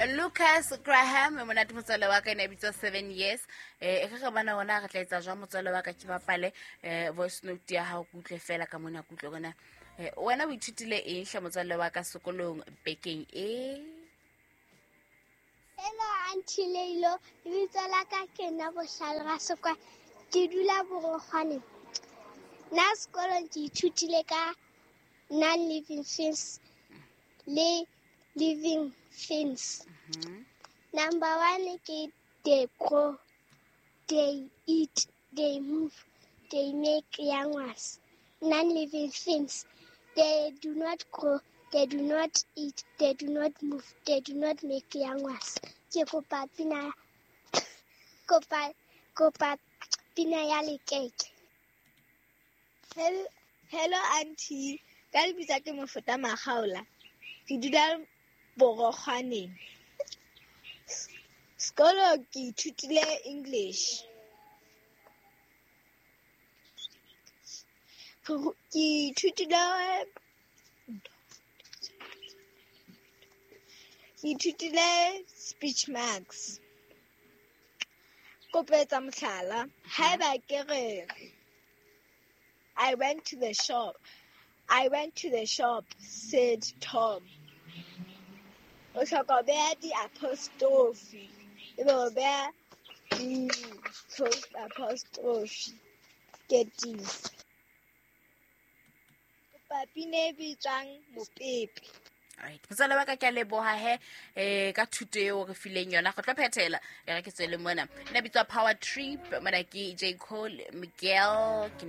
Lucas Graham, monate motswalle wa ka, e ne e bitswa 7 Years. E re re bona ona re tla etsa jwang, motswalle wa ka, ke bapale voice note ya hao, ke utlwe fela ka mona, ke utlwe bona wena o ithutile eng hle, motswalle wa ka, sekolong bekeng e. Hello, Auntie Leilo, lebitso la ka ke nna Bohlale Rasekwa. Ke dula Borokgwane. Nna sekolong ke ithutile ka non-living things le living things. Number one ke they grow, they eat, they move, they make young ones. Non-living things, they do not grow, they do not eat, they do not move, they do not make young ones. Ke kopa pina, kopa pina ya Lekeke. Hello, hello auntie. Ka lebitso ke Mofota Makgaola. Ke dula Borokgwaneng. Sekolo ke ithutile English. Ke ithutile speech marks. Kopo etsa mohlala, haeba ke re "I went to the shop. I went to the shop," said Tom. O hloka ho beha di-apostrophe, ebe o beha di-close apostrophe keteng. Kopa pina e bitswang Mopepe. Right, motswala wa ka, ke a leboha he ka thuto eo re fileng yona. Go tlo phethela e re ke tswele mona, nna bitswa Power Trip, mona ke J Cole Miguel ke.